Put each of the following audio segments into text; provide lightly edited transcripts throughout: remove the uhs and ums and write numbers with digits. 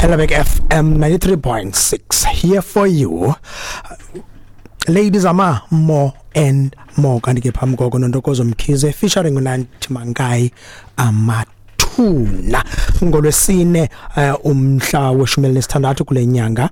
Helderberg FM 93.6 here for you. Ladies ama more and more, kanti ke phambi koko noNtokozo Mkhize featuring uNanti Mankayi, Amathuna. Ngolwesine umhla we-16 kule nyanga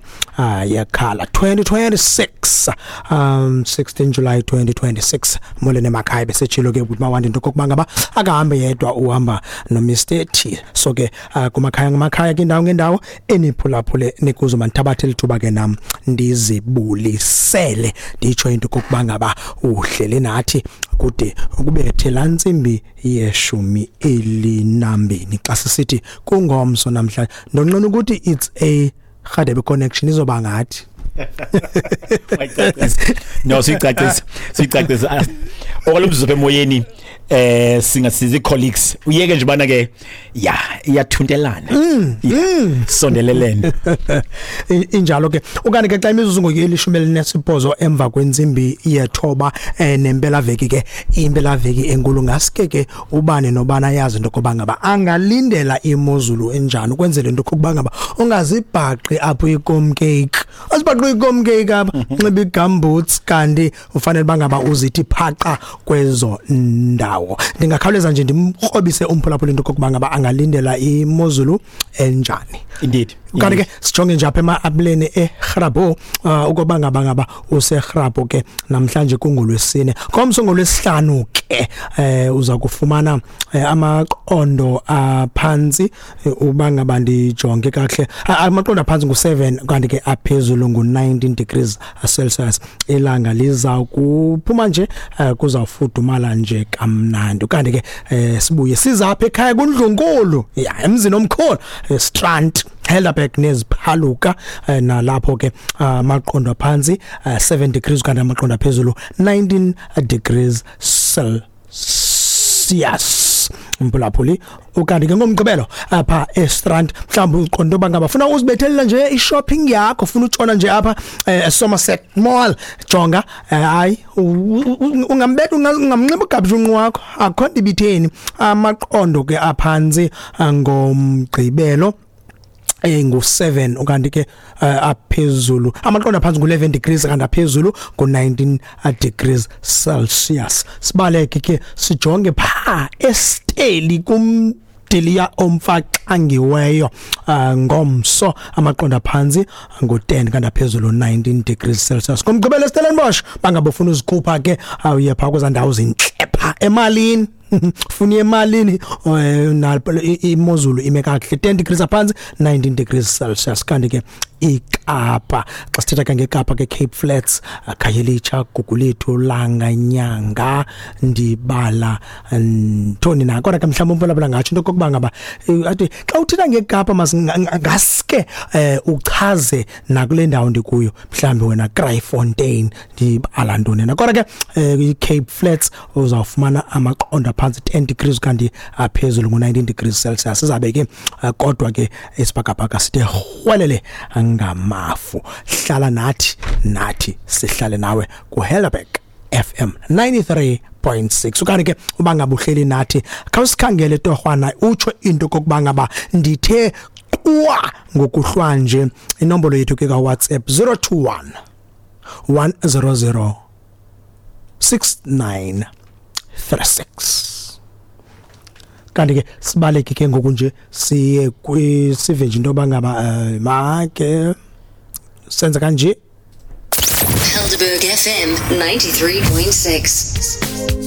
yeKhala 2026, 16 July 2026. Molweni emakhaya. Besitshilo ke ukuthi mawandi into kokuba ngaba akahambe yedwa, uhamba no Mr T. So ke kumakhaya ngamakhaya, kindawo ngendawo eniphulaphule nikuzo, mandithabathe lithuba ke nam ndizibulisele, nditsho into kokuba ngaba uhlele nathi kude ukubethe laa ntsimbi ye-12. Xa sisithi kungomso namhlanje, ndonqena ukuthi it's a Rhadebe connection, izoba ngathi. No, siyicacisa, siyicacisa okwalomzuzu apha emoyeni. Singasizi colleagues, uyeke nje bana ke ya iyathuntelana. Yeah, sondelelene. Injalo ke. Ukanti ke xa imizuzu ngoku eli-18 emva kwentsimbi yethoba, nempela veki ke, impela veki enkulu, ngaske ke ubane nobana yazi into kokuba ngaba angalindela imozulu enjani, ukwenzela into kokuba ngaba ungazibhaqi apho ikomcake, azibhaqi ikomcake apha, nxiba igumboots kanti ufanele bangaba uzithi phaqa kwezo ndawo. Ndingakhawuleza nje ndimkrobise umphulaphula into kokuba ngaba angalindela imozulu enjani. Kanti ke sijonge nje apha ema-apuleni eGrabouw, ukuba ngaba useGrabouw ke namhlanje kungolwesine, ngomso ngolwesihlanu ke uza kufumana amaqondo aphantsi, uba ngaba ndijonge kakuhle, amaqondo aphantsi ngu-7 kanti ke aphezulu ngu-19 degrees Celsius. Ilanga liza kuphuma nje, kuzawufudumala nje kamnandi. Kanti ke sibuye sizapha ekhaya kundlunkulu ya emzini omkhulu, Strand, Helderberg neziphaluka, nalapho ke amaqondo aphantsi 7 degrees kanti amaqondo aphezulu 19 degrees Celsius, mphulaphuli. Ukanti ke ngomgqibelo apha eStrand, mhlawumbi uqonda uba ngaba funa uzibethelela nje i-shopping yakho, funa utshona nje apha eSomerset Mall, jonga, hayi, ungambetha, ungamnxiba ugabshunqu wakho, akho nto ibitheni. Amaqondo ke aphantsi ngomgqibelo ngu7, ukanti ke aphezulu, amaqondo aphantsi ngu11 degrees kanti aphezulu ngu19 degrees Celsius. Sibaleke ke sijonge pha eSteli kumdiliya omfaxangiweyo, ngomso amaqondo aphantsi ngu10 kanti aphezulu 19 degrees Celsius. Ngomgqibelo eStellenbosch, bangabe ufuna uzikhupha ke, uye pha kweza ndawo zintle pha emalini, funa emalini, imozulu ime kakuhle, 10 degrees aphantsi, 19 degrees Celsius. Kanti ke iKapa, xa sithetha ke ngeKapa ke, Cape Flats, Khayelitsha, Gugulethu, Langa, Nyanga, ndibala ntoni na? Kodwa ke mhlawumbi umphulaphula ngatsho into okokuba ngaba athi xa uthetha ngeKapa ngaske uchaze nakule ndawo ndikuyo, mhlawumbi wena Kraaifontein, ndibala ntoni na? Kodwa ke i-Cape Flats uzawufumana amaqondo aphantsi 10 degrees kanti aphezulu ngu-19 degrees Celsius. Sizabe ke kodwa ke isibhakabhaka sithe rhwelele ngamafu. Hlala nathi, nathi sihlale nawe kuHelderberg FM 93.6. Ukanti ke uba ngaba uhleli nathi, khawusikhangele torhwana, utsho into kokuba ngaba ndithe qwa ngokuhlwanje. Inombolo yethu ke ka-WhatsApp 021 100 6936. Kanti ke sibaleke ke ngoku nje siye sive nje into yoba ngaba make senza kanje. Helderberg FM 93.6.